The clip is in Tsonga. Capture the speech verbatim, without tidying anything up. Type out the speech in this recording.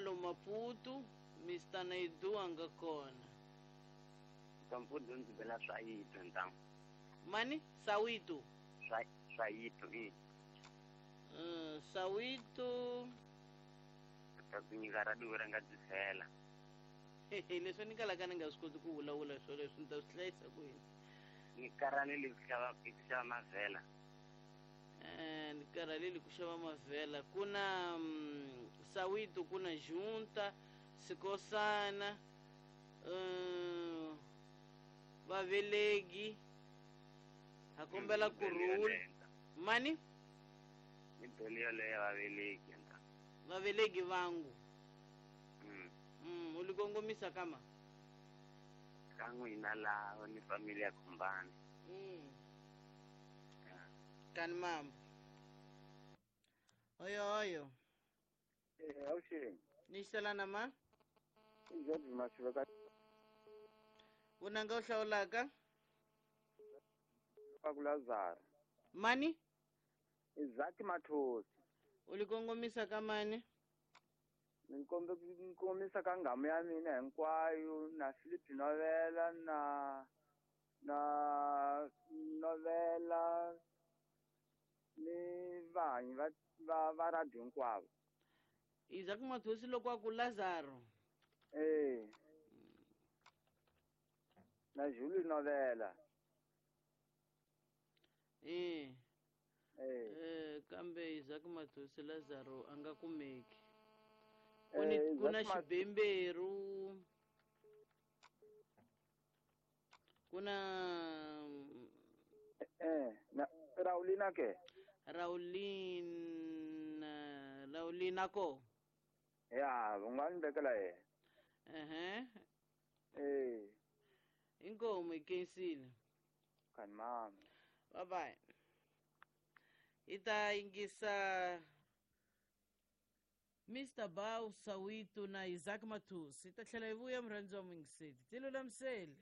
lo Maputo, Mister Naidu a nga kona. Kamfundo ndzi bela Swayito ntangu. Mani? Sawito. Swa Swayito i. Uh, Sawito. Ta ku nyika radio ra nga dzisela. Leswi ni kalaka ni nga swi koti ku vulavula swo leswi ni ta swi hlayisa kwini. Ni karhalele ku xava ku xava mavhela. Eh, ni karhalele ku xava mavhela. Ku na um, Sawito, ku na Junta, Sikosana, uh, Vavelegi. Ha kombela ku rhula. Mani? Ni bele yoleyo ya Vavelegi. Vavelegi vangu. Mm. Mm, u li kongomisa kama? Ka n'wina laha ni familia ya Khumbani. Mm. Kani mama. Oyo oyo. Eh, awuxeni. Ni xelana ma? I George Mashiveka. Vunanga u hlawulaka? Ka ku Lazaro. Mani? Isaac Mathosi. U li kongomisa ka mani? Ni kombe ku kongomisa ka nghamu ya mina hinkwayo na Philip Novela na na Novela ni vanhu va va va radio hinkwavo. Isaac Mathosi loko a ku Lazaro. Eh. Na Julie Novela. Eh. Eh. Eh, kambe Isaac Mathosi Lazaro a nga kumeki. Ku ni ku na xibemberu. Ku na eh na Raulina ke? Raulina Raulina ko. Ya, u nga ni vekela yena. Ehe. Eh. Inkomu i khensile. Kani mama. Bye bye. Hi ta yingisa Mister Bau Sawito na Isaac Mathosi. Hi ta tlhela hi vuya murhandzi wa muyingiseri. Ti lulamisele.